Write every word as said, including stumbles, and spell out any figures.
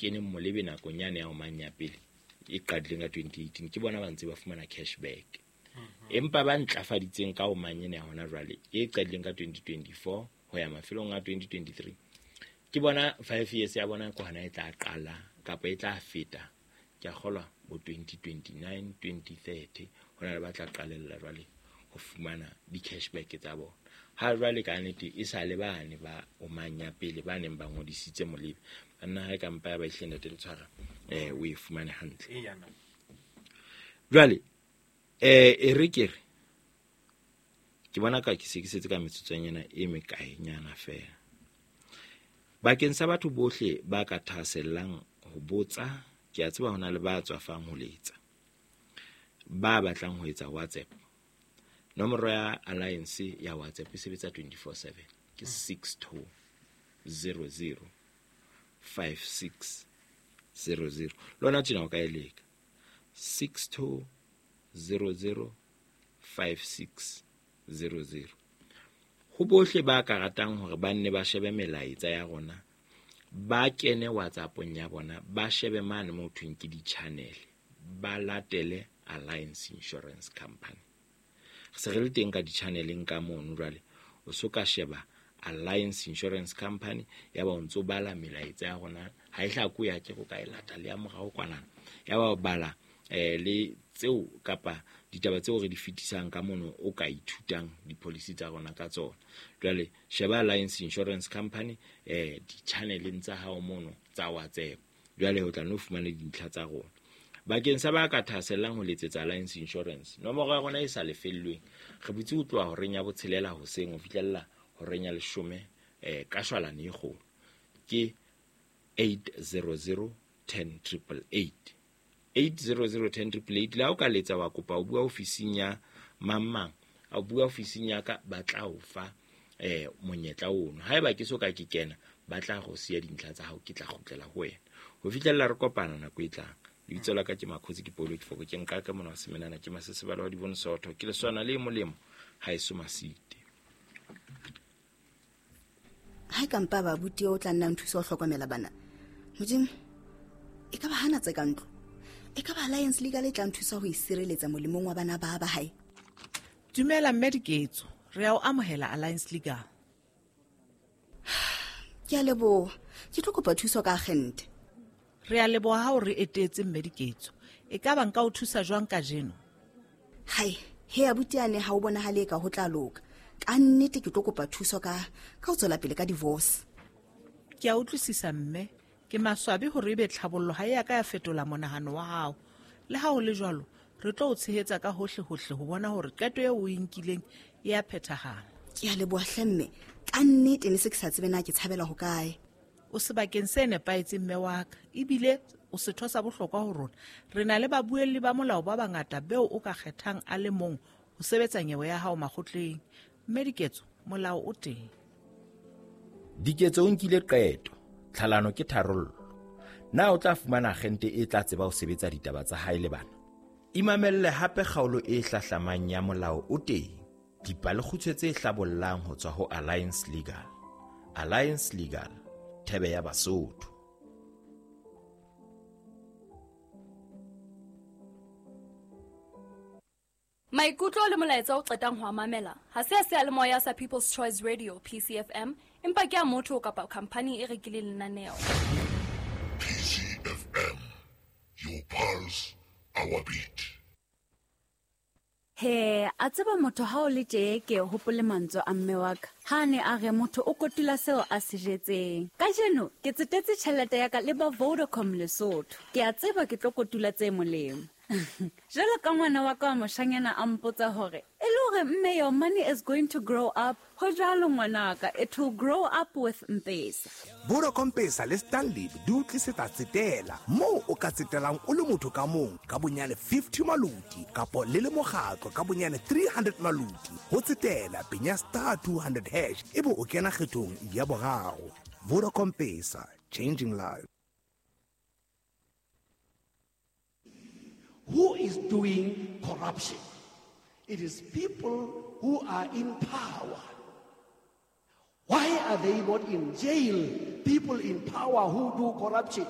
keneng molebe nakong yane ya Omang ya pele e qadileng ka twenty eighteen ke bona ba ntse ba fumana cashback. Empa ba ntlafaditseng ka Omang ena ya hona jwale e qadileng ka twenty twenty-four ho ya mafelong a twenty twenty-three ke bona five years ya bona ke hona e tla qala kapa e tla feta ke a kgolwa bo twenty twenty-nine, twenty thirty ho na le ba tla qalella jwale ho fumana di-cashback tsa bona. Ha jwale ka nnete e sa le bane ba Omang ya pele ba neng ba ngodisitse molebe banna ha e ka mpa ya ba ihle ntate le tshwara eh o e fumane hantle. Jwale eh e re ke re ke bona ka ke se ke setse ka metsotsonyana e mekaenyana fela. Bakeng sa batho bohle ba ka thahasellang ho botsa, ke a tseba hona le ba tswafang ho letsa, ba batlang ho etsa WhatsApp. Nomoro ya Alliance ya WhatsApp e sebetsa twenty-four seven ke six two zero zero five six zero zero. Lona tjena o ka e leka six two zero zero five six zero zero. Ho bohle ba ka ratang hore ba nne ba shebe melaetsa ya rona, ba kene WhatsApp-ong ya bona, ba shebe mane mo thweng ke di-channel, ba latele Alliance Insurance Company. Re se re le teng ka di-channeleng ka mono jwale, o so ka sheba Alliance Insurance Company ya ba o ntso bala melaetsa ya rona, ha e hlako ya ke go ka e lata le ya morao kwanana, ya ba o bala eh le tseo kapa ditaba tseo re di fetisang ka mono o ka ithutang di-policy tsa rona ka tsona. Jwale sheba Alliance Insurance Company eh di-channeleng tsa hao mono tsa WhatsApp, jwale o tla no fumana dintlha tsa rona. Bakeng sa ba ka thahasellang ho letsetsa Alliance Insurance, nomoro ya rona e sa lefellweng re butse ho tloha horeng ya botshelela hoseng ho fihlella horeng ya leshome eh ka shwalane e kgolo ke eight zero zero ten triple eight. eight zero zero ten triple eight. Le ha o ka letsa wa kopa o bua ofising ya mang mang, a bua ofising ya ka, ba tla o fa eh monyetla ono. Haeba ke so ka ke kena, ba tla go siya dintlha tsa hao, ke tla kgutlela ho wena ho fihlella re kopana nako e tlang. Lebitso la ka ke Makgotsi, ke Paulo Kifoko, ke nka ka mona wa Semenana, ke Masesebala wa Dibone Sootho, ke leswana le molemo ha eso masite. Ha e ka mpa ba buti o tla nna nthusa ho hlokomela bana. Modimo, e ka ba hana tse ka ntlo. E ka ba Alliance Legal e tla nthusa ho isireletsa molemong wa bana ba ba hae. Dumela mme Diketso, re a o amohela Alliance Legal. Ke a leboha. Ke tlo kopa thuso ka agente. Re a leboha ha o re etetse mme Diketso. E ka ba nka o thusa jwang kajeno? Hai, he abuti ane ha o bonahale ka ho tla loka. Ka nnete ke tlo kopa thuso ka ka ho tswela pele ka divorce. Ke a utlwisisa mme. Ke maswabi hore ebe tlhabollo ha e ya ka ya fetola monahano wa hao. Le ha ho le jwalo, re tlo o tshehetsa ka hohle hohle ho bona hore qeto eo o e nkileng e a phethahala. Ke a leboha hle mme. Ka nnete ne se ke sa tsebe na ke tshabela ho kae. O sebakeng se nepahetseng mme wa ka, ebile o setho sa bohlokwa ho rona. Re na le babuelli ba molao ba bangata beo o ka kgethang a le mong ho sebetsa nyewe ya hao makgotleng. Mme Diketso, molao o teng. Diketso o nkile qeto. Tlhalano ke tharollo. Na o tla fumana agente e tla tseba ho sebetsa ditaba tsa hae le bana? Imamelle hape kgaolo e hlahlamang ya molao o teng. Dipalekgutshwe tse hlabollang ho tswa ho Alliance Legal. Alliance Legal, thebe ya Basotho. Maikutlo le molaetsa o qetang ho mamela ha se a seyalemoya sa People's Choice Radio P C F M, empa ke a motho kapa company e rekileng lenaneo. P C F M, your pulse, our beat. He, a tseba motho ha o le tje ke hopole mantswe a mme wa ka. Ha ne a re motho o kotula seo a se jetseng. Kajeno ke tsetetse tjhelete ya ka le ba Vodacom Lesotho. Ke a tseba ke tlo kotula tse molemo. Jwalo ka ngwana wa ka wa moshanyana a mpotsa hore e le hore mme your money is going to grow up. Ho jwalo ngwanaka, it will grow up with M-Pesa. Vodacom Pesa le Stanley di o tlisetsa tsetela moo o ka tsetelang o le motho ka mong ka bonyane fifty maluti kapo le le mokgatlo ka bonyane three hundred maluti. Ho tsetela penya star two hundred hash ebe o kena kgethong ya boraro. Vodacom Pesa, changing lives. Who is doing corruption? It is people who are in power. Why are they not in jail? People in power who do corruption.